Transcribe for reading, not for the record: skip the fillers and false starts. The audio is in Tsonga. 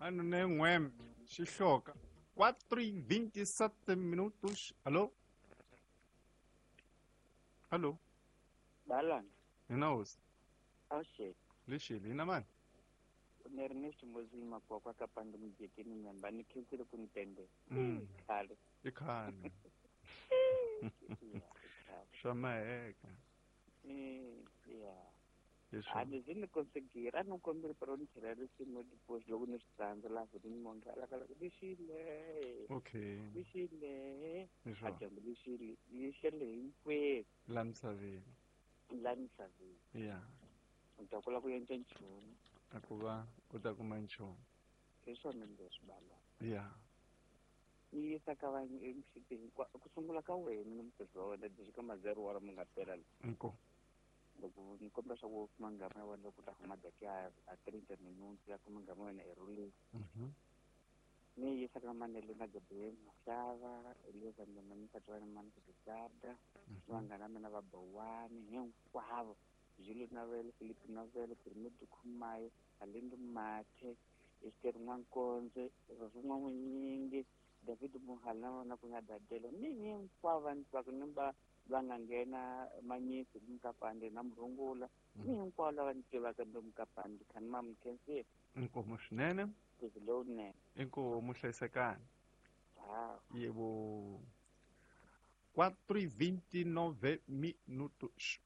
Ano ne n'wembe xihloka 4:27 minutos. Alô? Alô? Balana. Hina hosi. Awuxele. Lexele hina mani? Ni ri ni ximozini makwakwa ka pandi mujekeni nyamba ni khensile ku ni tende. Khale. I khale. Swa maheka. Ya. A ni zi ni konsegira a ni kombeli pero ni tlhela risimu diposi loko ni swi tsandza laha vhutini monge a laka loko lexile. Okay. Lexile. A dyambu lexile yi xele hinkwenu. La misaveni. La misaveni. Ya. U ta kula ku endla nchumu. A ku va u ta kuma nchumu. Hi swona leswi bala. Ya. Ni yisa ka vanhu emixitini hinkwako ku sungula ka wena ni mutirhi wa wena lexi ka mazero wa mi nga pela la. Inkomu. Loko ni kombela swa ku kuma ngama ya wena loko u ta huma daki ya a 30 minutes ya kuma ngama ya wena erhuleni. Ni yisa ka Manele na Gabriel Mashava, Eliza Ndema ni nsati wa yena Mani Kutisarda, ni vanghana va mina va Bowani hinkwavo, Zulu Navele, Philip Navele, Pyramid Khumayo, Halindu Mathe, Esther N'wankonze, Rose N'wan'winyingi, David Muhali na vona ku nga Dadelo ni hinkwavo va ni twaka ni va va nga nghena Manyisi ni Mukapande na Murungula ni hinkwavo lava ni tivaka ni Mukapande kha ni ma mi khensile. Inkomu swinene. Ntirho lowunene. Inkomu hlayisekani. Ha. Yebo. 4:29 minutos.